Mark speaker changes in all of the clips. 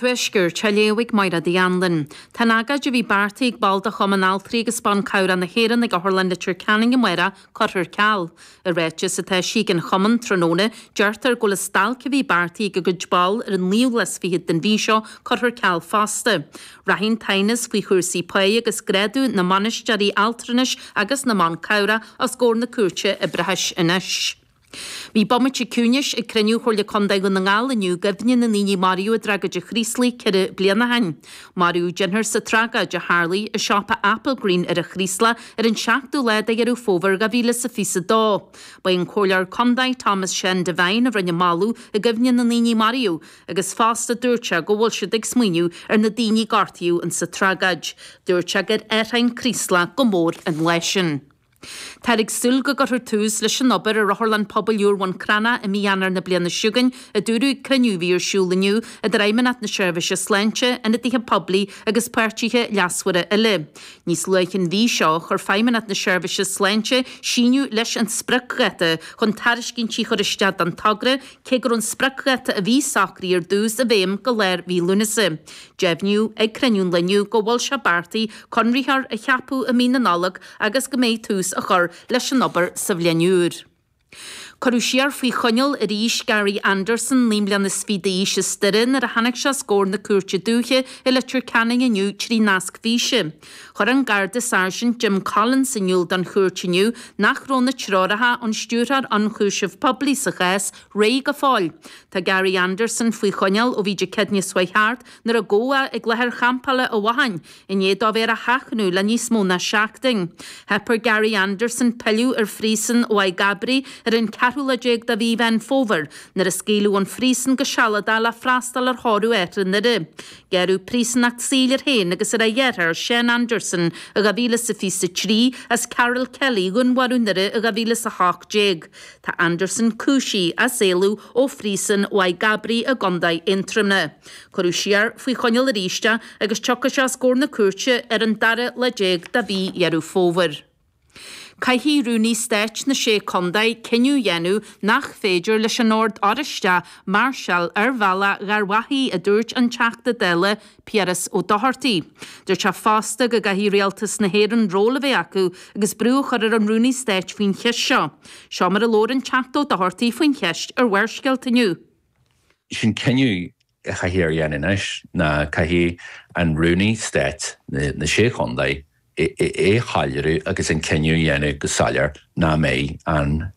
Speaker 1: Tuaiscirt, á léamh ag Máire Uí Anluain. Tá an agóid a bhí beartaithe ag baill de Chumann Altraí agus Ban Cabhrach na hÉireann ag Otharlann Leitir Ceanainn amárach curtha ar ceal. I ráiteas atá eisithe ag an chumann tráthnóna, deirtear go bhfuil an stailc a bhí beartaithe ag a gcuid ball ar an naoú lá is fichead den mhí seo curtha ar ceal fosta. Rachaidh an t-aighneas faoi chúrsaí páí agus grádú na mbainisteoirí altranais agus na mban cabhrach os comhair na Cúirte Oibreachais anois. Bhí bomaite ciúnais ag cruinniú Chomhairle Contae Dhún na nGall inniu i gcuimhne na ndaoine a maraíodh i dtragóid an Chraoslaigh 4 bliana ó shin. Maraíodh deichniúr sa tragóid a tharlaigh i siopa Applegreen ar an Chraoslach ar an seachtú lá de Dheireadh Fómhair 2022. Ba é an Comhairleoir Contae Thomas Seán Devine a rinne moladh i gcuimhne na ndaoine a maraíodh agus fosta dúirt sé go bhfuil siad ag smaoineamh ar na daoine a gortaíodh insa tragóid. Dúirt sé gur athraigh an Craoslach go mór an lá sin. Táthar ag súil go gcuirfear tús leis an obair ar Otharlann Pobail úr Bhun Cranncha i mí Eanáir na bliana seo chugainn, a dúradh ag cruinniú a bhí ar siúl inniu idir Fheidhmeannacht na Seirbhíse Sláinte, ionadaithe poiblí agus páirtithe leasmhara eile. Níos luaithe an mhí seo, chuir Feidhmeannacht na Seirbhíse Sláinte síneadh leis an spriocdháta chun tairiscintí a chur isteach don togra, cé go raibh an spriocdháta a bhí socraithe ar dtús i bhfeidhm go lár mhí Lúnasa. Deimhníodh ag cruinniú an lae inniu go bhfuil sé beartaithe conraitheoir a cheapadh i mí na Nollag agus go mbeidh tús á chur leis an obair sa bhliain úr. Cuireadh siar faoi choinneáil arís Gary Anderson, 29 mbliana d'aois as Doire, nuair a tháinig sé os comhair na Cúirte Dúiche i Leitir Ceanainn inniu trí nasc físe. Chuir an Garda Sáirsint Jim Collins in iúl don chúirt inniu nach raibh na treoracha ón Stiúrthóir Ionchúiseamh Poiblí sa chás réidh go fóill. Tá Gary Anderson faoi choinneáil ó bhí Dé Céadaoine seo chuaigh thart nuair a gabhadh é ag láthair champála an Bhotháin i ndiaidh dó bheith ar a sheachnadh le níos mó ná seachtain. Theip ar Gary Anderson pilleadh ar phríosún Mhaigh gCabraí ar an ceathrú lá déag de mhí Mheán Fómhair nuair a scaoileadh ón phríosún go sealadach le freastal ar thórramh a athar i nDoire. Gearradh príosúnacht saoil air féin agus ar a dheartháir Seán Anderson i 2023 as Carol Kelly a dhúnmharú i nDoire i 2018. Tá Anderson cúisithe as éalú ó phríosún Mhaigh gCabraí i gContae Aontroma. Cuireadh siar faoi choinneáil arís é agus tiocfaidh sé os comhair na cúirte ar an dara lá déag de mhí Dheireadh Fómhair. Caithfidh Rúnaí Stáit na Sé Contae cinneadh a dhéanamh nach féidir leis an Ord Oráisteach máirseáil ar bhealach Gharbhachaidh, a dúirt an Teachta Dála Piaras Ó Dochartaigh. Dúirt sé fosta go gcaithfidh Rialtas na hÉireann ról a bheith acu agus brú a chur ar an Rúnaí Stáit faoin cheist seo. Seo mar a labhair an Teachta Ó Dochartaigh faoin cheist ar Bharrscéalta inniu.
Speaker 2: Sin cinneadh a chaithfear a dhéanamh anois ná caithfidh an Rúnaí Stáit na Sé Chontae é a shoiléiriú agus an cinneadh a dhéanamh go soiléir nach mbeidh an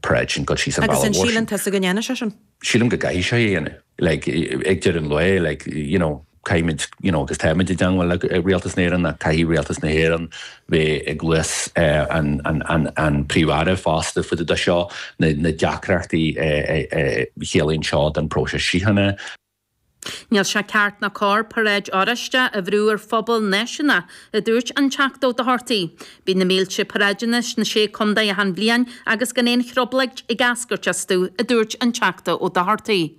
Speaker 2: paráid sin ag dul síos an
Speaker 3: Agus
Speaker 2: bealach
Speaker 3: an
Speaker 2: mhór sin.
Speaker 3: síleann tusa go ndéanfaidh sé sin?
Speaker 2: Sílim go gcaithfidh sé é a dhéanamh. Like, ag deireadh an lae, like, you know, caithfimid, you know, agus táimid i dteangmháil le Rialtas na hÉireann ach caithfidh Rialtas na hÉireann bheith i gcluas an, an, an, an Príomh-Aire fosta fá dtaobh de seo, na, na deacrachtaí a chiallaíonn seo don próiseas síochána.
Speaker 1: Níl sé ceart ná cóir paráid Oráisteach a bhrú ar phobal náisiúnach, a dúirt an Teachta Ó Dochartaigh. Bíonn na mílte paráideanna sna Sé Contae achan bhliain agus gan aon thrioblóid ag eascairt astu, a dúirt an Teachta Ó Dochartaigh.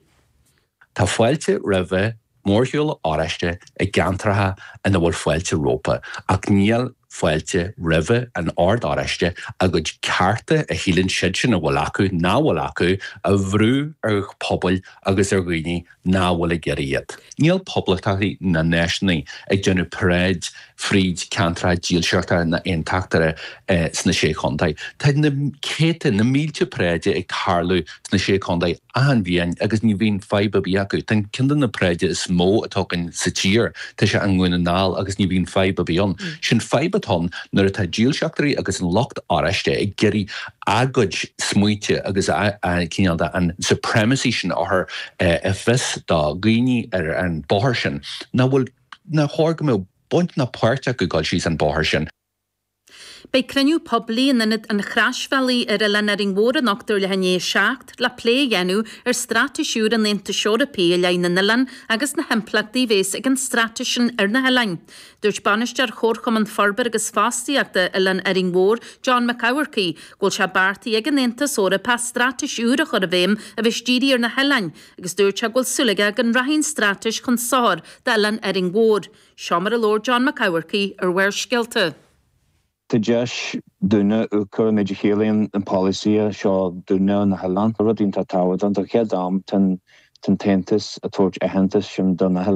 Speaker 2: Tá fáilte roimhe mórshiúl Oráiste i gceantracha ina bhfuil fáilte rompu, ach níl fáilte roimhe an Ord Oráiste a gcuid cearta a shíleann siadsan a bhfuil acu, nach bhfuil acu, a bhrú ar phobail agus ar dhaoine nach bhfuil ag iarraidh iad. Níl poblachtánaigh ná náisiúnaigh ag déanamh paráid fríd ceantracha dílseachta ná aontachtaithe sna Sé Chontae. Tá na céadta, na mílte paráide ag tarlú sna Sé Chontae achan bhliain agus ní bhíonn fadhb ar bith acu. Tá ceann de na paráide is mó atá againn sa tír, tá sé i nDún na nGall agus ní bhíonn fadhb ar bith ann. Sin fadhb atá ann nuair atá dílseachtóirí agus an lucht Oráiste ag iarraidh a gcuid smaointe agus a cineál de an supremacy sin a chur i bhfios do dhaoine ar an bóthar sin nach bhfuil, nár chóir go mbeadh baint ná páirt acu dul síos an bóthar sin.
Speaker 1: Beidh cruinniú poiblí in Ionad an Chroisbhealaigh ar Oileán Árainn Mhór anocht ar leath i ndiaidh 7 le plé a dhéanamh ar straitéis úr an Aontais Eorpaigh i leith na n-oileán agus na himpleachtaí a bhéas ag an straitéis sin ar na hoileáin. Dúirt Bainisteoir Chomharchumann Forbartha agus Fostaíochta Oileán Árainn Mhór, John Mac Eamharcaigh, go bhfuil sé beartaithe ag an Aontas Eorpach straitéis úr a chur i bhfeidhm a bheas dírithe ar na hoileáin agus dúirt sé go bhfuil súil aige go rachaidh an straitéis chun sochair d'Oileán Árainn Mhór. Seo mar a labhair John Mac Eamharcaigh ar Bharrscéalta.
Speaker 4: Tá deis dúinne amharc ar an méid a chiallaíonn an polasaí seo dúinne na hoileáin. Rud iontach tábhachtach don chéad am tá an tAontas ag tabhairt aitheantas sin do na hoileáin.